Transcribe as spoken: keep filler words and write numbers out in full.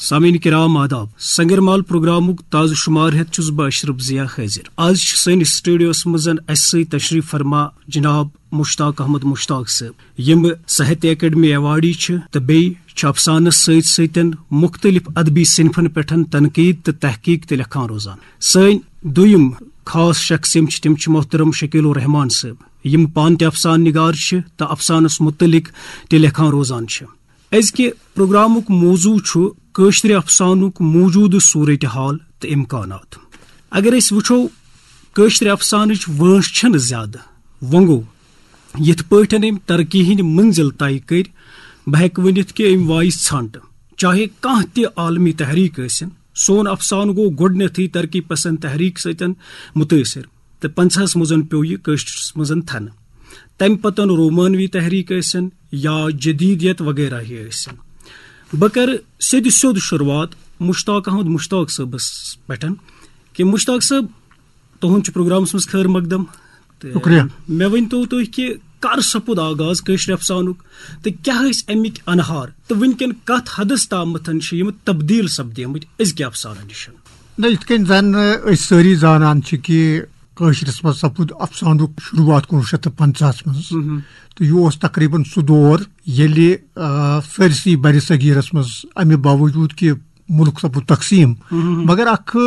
سامعین کرام آداب، سنگر مال پروگرامُک تازٕ شمار ہیتھ چھُس بہٕ اشرف ضیاء حٲضِر۔ آز چھِ سٲنِس سٹوڈیوس منٛز اسہِ سۭتۍ تشریف فرما جناب مشتاق احمد مشتاق صٲب، یِم ساہتیہ اکیڈمی ایوارڈی چھِ تہٕ بیٚیہِ چھِ افسانس سۭتۍ سۭتۍ مختلف ادبی صنفن پٮ۪ٹھ تنقید تہٕ تحقیق تہِ لیکھان روزان۔ سٲنۍ دوٚیِم خاص شخص یِم چھِ، تِم چھِ محترم شکیل الرحمان صٲب، یِم پانہٕ تہِ افسانہٕ نگار چھِ تہٕ افسانس متعلق تہِ لیکھان روزان چھِ۔ أزکہِ پروگرامُک موضوع چھُ کٲشرِ افسانُک موجودٕ صورتحال تہٕ امکانات۔ اگر أسۍ وٕچھو، کٲشرِ افسانٕچ وٲنٛس چھنہٕ زیادٕ، وۄنۍ گوٚو، یِتھ پٲٹھۍ أمۍ ترقی ہٕنٛدۍ منزل طے کٔرۍ، بہٕ ہیٚکہٕ ؤنِتھ کہِ أمۍ وایہِ ژھنٛٹ۔ چاہے کانٛہہ تہِ عالمی تحریک ٲسِن، سون افسانہٕ گوٚو گۄڈٕنیتھٕے ترقی پسند تحریک سۭتۍ متٲثر، تہٕ پنٛژاہس منٛز پیوٚو یہِ کٲشرِس منٛز تھنہٕ۔ تمہِ پتہٕ رومانوی تحریک ٲسِن یا جدیدیت وغیرہ ہی ٲسِن۔ بہٕ کرٕ سیٚدِ سیوٚد شروعات مشتاق احمد مشتاق صٲبس پٮ۪ٹھ کہِ مشتاق صٲب، تُہُنٛد چھُ پروگرامس منٛز خٲر مقدم۔ تہٕ شُکریہ۔ مےٚ ؤنۍ تو تُہۍ کہِ کر سپُد آغاز کٲشرِ افسانُک تہٕ کیٛاہ ٲسۍ اَمِکۍ انہار تہٕ وٕنکٮ۪ن کتھ حدس تامتھ چھِ یِم تبدیل سپدیمٕتۍ أزکہِ افسانہٕ نِش؟ نہ، یِتھ کٔنۍ زن أسۍ سٲری زانان چھِ کہِ کٲشرِس منٛز سپُد افسانُک شروعات کُنوُہ شیٚتھ تہٕ پنٛژاہس منٛز۔ تہٕ یہِ اوس تقریباً سُہ دور ییٚلہِ، آ، سٲرسٕے برِ صغیٖرس منٛز، امہِ باوجوٗد کہِ مُلک سپُد تقسیٖم، مگر اکھ